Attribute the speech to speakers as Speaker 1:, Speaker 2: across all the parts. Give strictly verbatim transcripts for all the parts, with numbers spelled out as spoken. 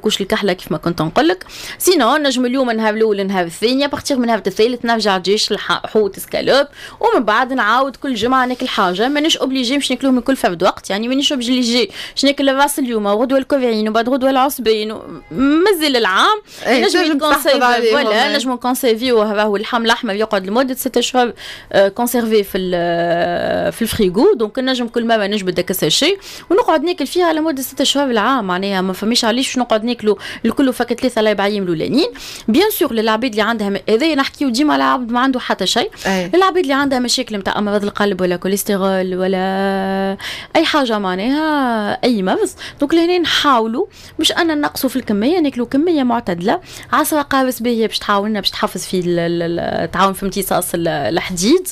Speaker 1: couche الكحله كيف ما كنت نقول لك. sinon نجم اليوم النهار الاول، النهار الثاني، à partir من النهار الثالث نرجع دجاج، حوت، سكالوب، ومن بعد نعاود كل جمعه ناكل حاجه. مانيش obligé باش ناكلوهم الكل فرد وقت، يعني مانيش obligé باش ناكل الراس اليوم وغدوه الكوفرين وبعد غدوه العصبين، مازال العام نجم conserver. voilà، نجم conserver، وهو اللحم الاحمر يقعد لمدة ستة اشهر conservé في في ال frigo. donc نجم كل مرة نجبد داك ال sachet ونقعد ناكل فيها لمدة ستة اشهر العام، معناها ما فماش علاش نقعد ناكلو الكل فك ثلاثة اربع ايام الاولانيين. bien sûr للعباد اللي عندها، هذا نحكيو ديما على عبد ما عنده حتى شيء، للعباد اللي عندها مشاكل نتاع امراض القلب ولا كوليسترول ولا اي حاجه، معناها اي مرض. donc لهنا نحاولوا مش ان نقصوا في الكميه، ناكلوا كمية معتدله. عصره قارص باهيه باش تعاوننا، باش تحفز في تعاون في امتصاص الحديد.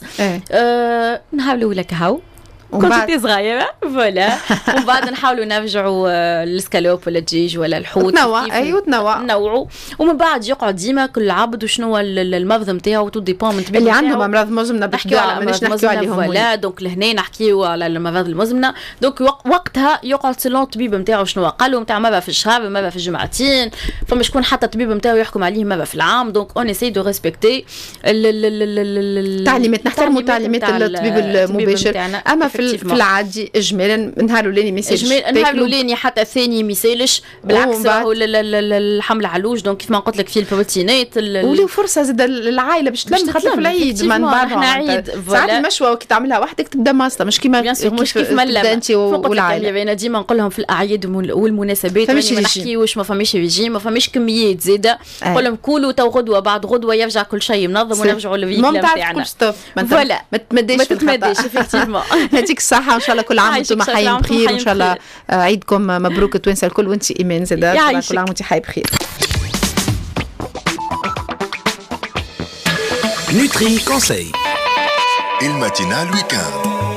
Speaker 1: آه نهار الاولى كهو كنت صغيرة voilà، ومن بعد نحاولوا نرجعوا السكالوب ولا الدجاج ولا الحوت.
Speaker 2: تنوع، ايوه، تنوع.
Speaker 1: نوعوا، ومن بعد يقعد ديما كل عبد وشنو المرض نتاعو، tout dépend من
Speaker 2: اللي عندهم امراض مزمنه.
Speaker 1: نحكيو على مانيش نحكيو عليهم. voilà، donc لهنا نحكيو على الامراض المزمنه، donc وقتها يقعد selon الطبيب نتاعو شنو قال له، نتاع مرة في الشهر، مرة في الجمعتين، فما شكون حتى الطبيب نتاعو يحكم عليه مرة في العام. donc on essaie de respecter
Speaker 2: التعليمات، نحترموا تعليمات الطبيب المباشر. اما في في العادي اجمالا النهار الاولاني ما
Speaker 1: يسالش، النهار الاولاني حتى الثاني ما يسالش، بالعكس راهو اللحم العلوش donc كيف ما قلت لك فيه البروتينات.
Speaker 2: ولي فرصة زاد العائلة باش تلم، خاطر في العيد من بعد
Speaker 1: احنا عيد.
Speaker 2: ساعات المشوى كي تعملها وحدك تبدا ماسطه، مش كيما
Speaker 1: مش كيف ما
Speaker 2: انت والعائله.
Speaker 1: انا ديما نقول لهم في الاعياد والمناسبات ما نحكيوش، ما فماش ريجيم، ما فماش كميات زاده. نقول لهم كولوا تو غدوه بعد غدوه يرجع كل شيء منظم ونرجعوا لل rythme
Speaker 2: نتاعنا. stop،
Speaker 1: voilà،
Speaker 2: ما تمديش.
Speaker 1: ما تتمديش effectivement.
Speaker 2: يعطيك الصحة، وإن شاء الله كل عام وأنتم حيين بخير، وإن شاء الله عيدكم مبروك التوانسة الكل، وأنت إيمان زادة كل عام وأنت حي بخير.
Speaker 3: Nutri Conseil.
Speaker 4: ال matinale week-end.